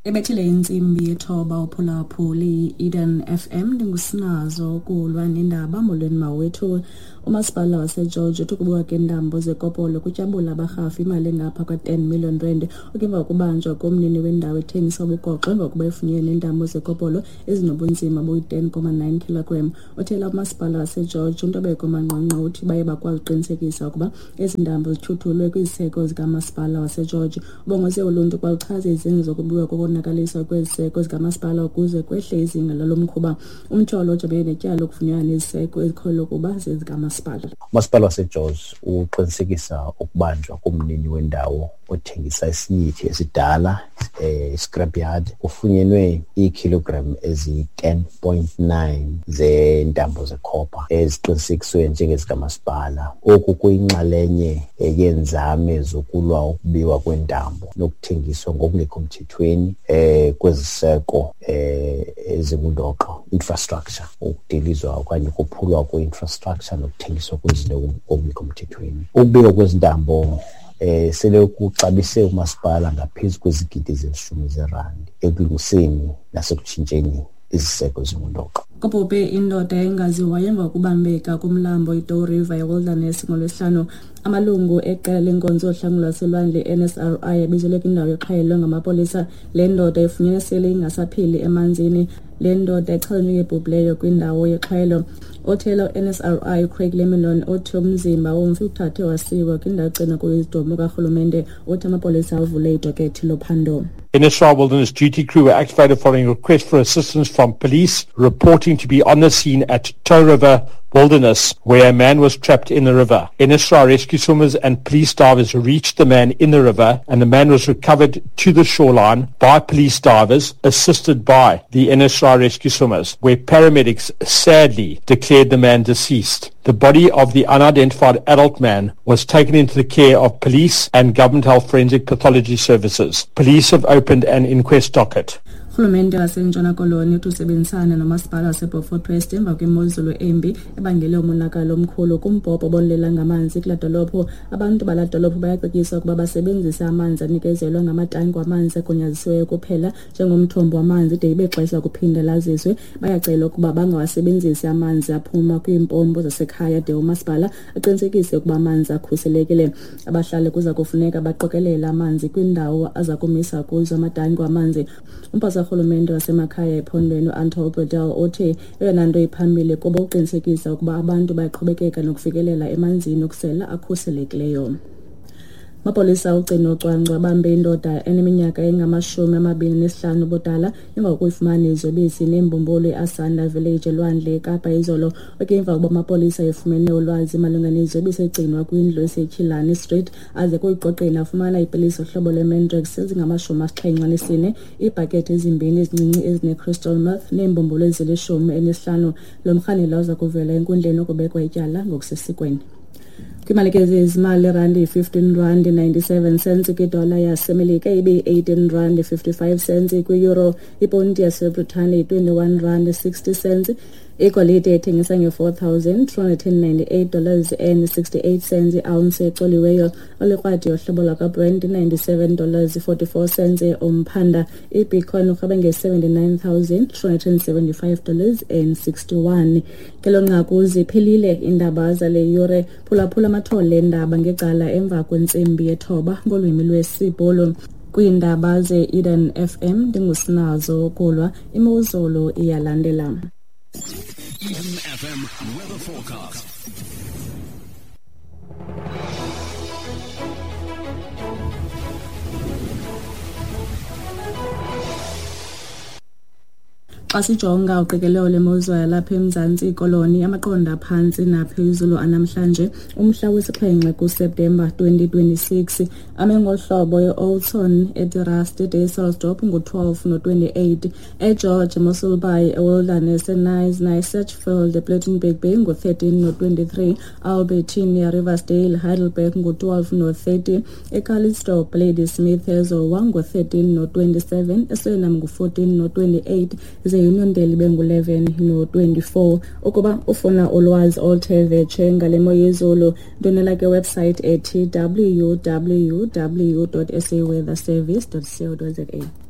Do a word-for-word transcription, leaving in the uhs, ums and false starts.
Ebethile intsimbi yethoba uphulaphuli Eden F M ndingusinazo kulwa nendaba. Molweni mawethu. Umasipala waseGeorge uthi ukubuka keentambo zekopolo kutyabula abarhafi imali engapha kwa-ten million rand okemva kokubanjwa komnini wendawo ethengisa ubugoxo emva kokuba efunyenwe neentambo zekopolo ezinobunzima boyi-ten comma nine kilogram. Uthela umasipala waseGeorge uNtobeko Manqwanqwa uthi baye bakwazi uqinisekisa ukuba ezi ntambo zithuthulwe kwiziseko zikamasipala waseGeorge. Ubongoze uluntu ukuba luchaze izenzo zokubiwa kokonakaliswa kweziseko zikamasipala ukuze kwehle izinga lalo mkhuba. Umtyholo ojongene netyala lokufunyanwa neziseko ezikholelwa ukuba zezikamasipala. Umasipala waseGeorge uqinisekisa ukubanjwa komnini wendawo othengisa isinyithi esidala eh scrapyard. Kufunyenwe iikhilogram eziyi-ten point nine zentambo zekhopha eziqinisekiswe njengezikamasipala. Oku kuyinxalenye yeenzame zokulwa ukubiwa kwentambo nokuthengiswa ngokungekho mthethweni eh kweziseko eh ezingundoqo infrastructure, ukudilizwa okanye ukuphulwa kwe-infrastructure nokuthengiswa kwezinto ngokungekho mthethweni. Ukubiwa kwezintambo eh sele kuxabise umasipala ngaphezu kwezigidi ezilishumi zerandi ekulungiseni nasekutshintsheni iziseko ezingundoqo. Kubhubhe indoda engaziwayo emva kokubambeka kumlambo iDow River eWilderness ngoLwesihlanu. Amalungu eqela lenkonzo yohlangulo lwaselwandle N S R I abizelwe kwindawo exhayelwe ngamapolisa. Le ndoda ifunyenwe sele ingasaphili emanzini. Le ndoda ichazwe njengebhubhileyo kwindawo yexhayelo. Othela u-N S R I Craig Leminon uthi umzimba womfi uthathwe wasiwa kwindawo egcinwa kuyo izidumbu karhulumente. Uthi amapolisa avule idokethi lophando. N S R I Wilderness Duty Crew were activated following a request for assistance from police reporting to be on the scene at Toe River Wilderness, where a man was trapped in the river. N S R I rescue swimmers and police divers reached the man in the river, and the man was recovered to the shoreline by police divers, assisted by the N S R I rescue swimmers, where paramedics sadly declared the man deceased. The body of the unidentified adult man was taken into the care of police and Government Health Forensic Pathology Services. Police have opened an inquest docket. Urhulumente waseNtshona Koloni uthi usebenzisana nomasipala waseBeaufort West emva kwemozulu embi ebangele umonakalo omkhulu kumbhobho obonelela ngamanzi kulaa dolophu. Abantu balaa dolophu bayacetyiswa ukuba basebenzise amanzi anikezelwa ngamatanki wamanzi agunyazisiweyo kuphela njengomthombo wamanzi de ibe xesha kuphinda laziswe. Bayacelwa ukuba bangawasebenzisi amanzi aphuma kwiimpompo zasekhaya de umasipala aqinisekise ukuba amanzi akhuselekile. Abahlali kuza kufuneka baqokelele amanzi kwiindawo aza kumisa kuzo amatanki wamanzi. Umphathiswa urhulumente wasemakhaya ephondweni uAnton Bredell uthi eyona nto iphambili kuba uqinisekisa ukuba abantu bayaqhubekeka nokufikelela emanzini okusela akhuselekileyo. Amapolisa ugcino ucwangco abambe indoda eneminyaka engamashumi amabini nesihlanu ubudala emva kokuyifumana iziyobisi neembumbulu eAsanda Village elwandle eKapa izolo. Emva kokuba amapolisa efumene ulwazi malunga neziyobisi egcinwa kwindlu eseTshilani Street aze kuyiqoqela afumana iipilisi zohlobo lweMandrax ezingamashumi asixhenxe anesine, iibhakethi ezimbini ezincinci ezine-crystal meth neembumbulu ezilishumi elinesihlanu. Lo mrhanelwa uza kuvela enkundleni ukubekwa ityala ngokusesikweni. Kwimali ke zezimali, irandi yi-fifteen rand ninety-seven cents kwidola yaseMelika, ibe yi-eighteen rand fifty-five cents kwi-euro, iponti yaseBritane yi-twenty-one rand sixty cents. Igolide ethengisa nge-four thousand two hundred ninety-eight dollars and sixty-eight cents i-ounce ecoliweyo. Olikrwadi yohlobo lwakwaBrent ninety-seven dollars forty-four cents umphanda. IBitcoin urhweba nge-seventy-nine thousand two hundred seventy-five dollars and sixty-one. Ngelo nqaku ziphelile iindaba zale yure. Phulaphula amathole eendaba ngecala emva kwentsimbi yethoba ngolwimi lwesiBhulu. Kwiindaba ze-Eden F M ndingusinazo kulwa. Imozulu iyalandela. Eden F M weather forecast. Xa sijonga uqikelelo lemozulu yalapha eMzantsi Koloni, amaqondo aphantsi naphezulu anamhlanje umhla wesixhenxe kuSeptemba twenty twenty-six ame ngolu hlobo: eOldton, eDerust, eDysselsdorp ngu-twelve no-twenty-eight, eGeorge, Mossel Bay, eWilderness, eKnysna, eSedgefield, ePlettenberg Bay ngu-thirteen no-twenty-three, Albertinia, Riversdale, Heidelberg ngu-twelve no-thirty, eCalitzdorp, Ladysmith, eZowa ngu-thirteen no-twenty-seven, eSuriname ngu-fourteen no-twenty-eight, Uniondale bengu-eleven no-twenty-four. Ukuba ufuna ulwazi oluthe vetshe ngale mo yezulu, ndonela ke website ethi w w w dot s a weather service dot co dot za.